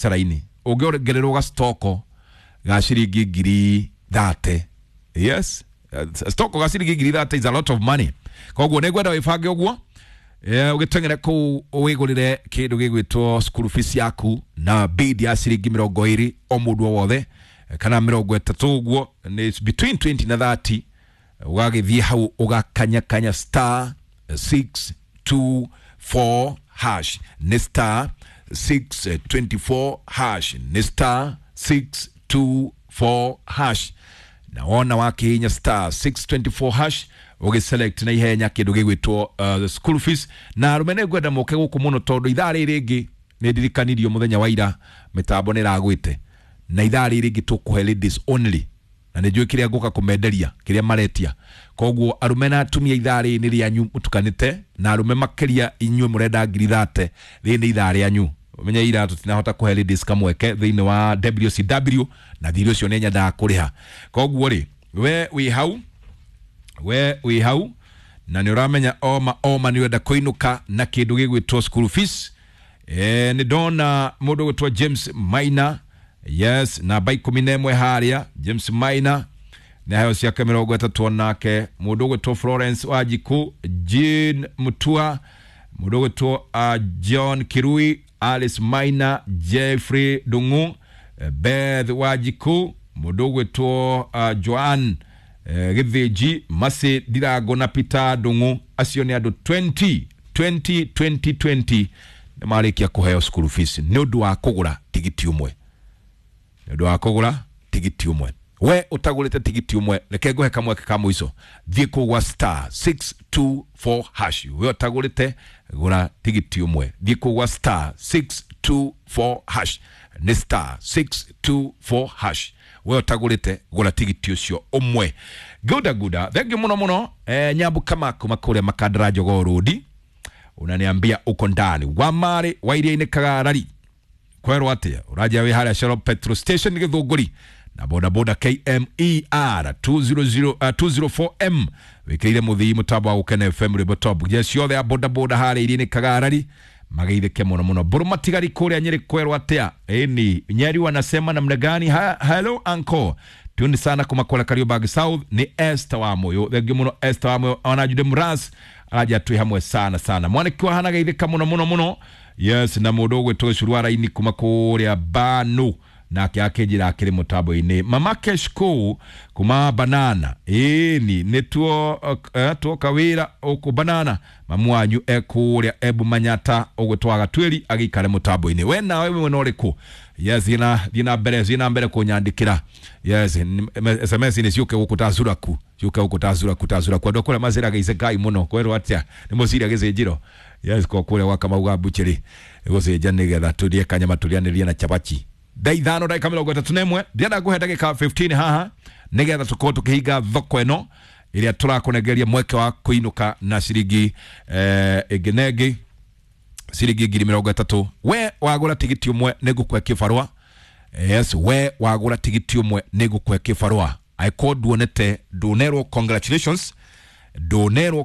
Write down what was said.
Biacara-inĩ ũngĩongererwo gacitoko ga ciringi 30,000. Yes, stoko ga ciringi 30,000 is a lot of money. Koguo nĩ ngwenda wĩbange ũguo, ũgĩteng'ere kũu wĩgũrĩre kĩndũ gĩgwĩtwo school fees yaku na bid ya ciringi 20 o mũndũ o wothe, kana 30 ũguo, nĩ between 20 na 30. Ũgagĩthiĩ hau ũgakanyakanya star 624 hash, nĩ star 624 hash, nĩ star 624 hash. Na wona wakihinya star 624 hash, ũgĩselect na ihenya kĩndũ gĩgwĩtwo school fees. Na arũme nĩ ngwenda moke gũkũ mũno, tondũ ithaa rĩrĩ rĩngĩ nĩ ndirikanirio mũthenya wa ira mĩtambo nĩ ĩragwĩte, na ithaa rĩrĩ rĩngĩ tũkũhe ladies only, na nĩ njũĩ kĩrĩa ngũka kũmenderia kĩrĩa maretia. Koguo arũme na atumia, ithaa rĩrĩ nĩ rĩanyu mũtukanĩte, na arũme makĩria inyuĩ mũrenda 30,000, rĩrĩ nĩ ithaa rĩanyu. Menye ira tũtinahota kũhe ladies kamweke thĩinĩ wa WCW, na thirĩ ũcio nĩ nyendaga kũrĩha. Koguo rĩ, we wĩ hau, we wĩ hau na nĩ ũramenya oma oma nĩ ũrenda kũinũka na kĩndũ gĩgwĩtwo school fees. Nĩ ndona mũndũ gwĩtwo James Maina, yes, namba 11 harĩa. James Maina nĩ aheo ciake 30. Onake mũndũ ũgwĩtwo Florence Wanjiku, Jean Mutua, mũndũ ũgwĩtwo John Kirui, Alice Maina, Jeffrey Dungu, Beth Wanjiku, mũndũ ũgwĩtwo Joan Gĩthĩnji, Masi Ndirango na Peter Ndung'u. Acio nĩ andũ 20 20 20 20 nĩ marĩkia kũheo school fees nĩ ũndũ wa kũgũra tigiti ũmwe, nĩ ũndũ wa kũgũra tigiti ũmwe. We ũtagũrĩte tigiti ũmwe, reke ngũhe kamweke ka mũico. Thiĩ kũu gwa star 624 hash. We ũtagũrĩte, gũra tigiti ũmwe. Thiĩ kũu gwa star 624 hash, nĩ star 624 hash. We ũtagũrĩte, gũra tigiti ũcio ũmwe. Guda guda, thengiũ mũno mũno. Nyambu kama kuma kũrĩa Makandara Jogoo Road, unaniambia uko ndani wa marĩ wa iria-inĩ Kagarari. Kwerwo atia? Ũranjia wĩ harĩa Shell petrol station Gĩthũngũri na bodaboda KMER 200, 204M wĩkĩrĩire mũthii mũtambo wa Gũkena FM, rwĩmbo top. Jeshi yothe ya bodaboda harĩa iria-inĩ Kagarari mageithĩke mũno mũno. Mbũrũ matigari kũrĩa Nyĩrĩ, kwerwo atĩa? Ĩni Nyeri wanasema namna gani? Hello uncle, tuni sana kuma kũrĩa Kariobangi South. Nĩ Esther wa Moyo, thengiũ mũno Esther wa Moyo. Ona Jude Mras araja twĩ hamwe sana sana. Mwaniki wa hana geithĩka mũno mũno mũno. Yes, na mũndũ ũgwĩtwo Gĩcuru wa Raini kuma kũrĩa Banu nake akĩnjĩra akĩrĩ mũtambo-inĩ. Mama Keshko kuma Banana, ĩni nĩ tuo tuoka wĩra ũkũ Banana. Mamu wanyu ekũrĩa Ebu Manyata ũgwĩtwo Gatwĩri agĩikare mũtambo-inĩ. We nawe wĩ mwena ũrĩkũ? Yes, thiĩ na mbere, thiĩ na mbere kũnyandĩkĩra. Yes, SMS nĩ ciũke gũkũ ta curaku, ciũke gũkũ ta curaku, ta curaku. Andũ a kũrĩa maceraga icekai mũno, kwerwo atĩa? Nĩ mũcira gĩcĩnjĩro? Yes, kwa kũrĩa gwa Kamau ga bucheri gũcĩnja nĩgetha tũrĩe kanyama tũrĩanĩrie na chabachi. Thaa 5 ndagĩka 31, ndĩrenda ngũhe ndagĩka 15 haha nĩgetha tũkorwo tũkĩhinga thoko ĩno ĩrĩa tũrakũnengeria mweke wa kũinũka na ciringi ĩngĩ na ĩngĩ, ciringi 30,000. We wagũra tigiti ũmwe nĩ ngũkũhe kĩbarũa. Yes, we wagũra tigiti ũmwe nĩ ngũkũhe kĩbarũa. Angĩkorwo nduonete, ndũnerwo congratulations, ndũnerwo.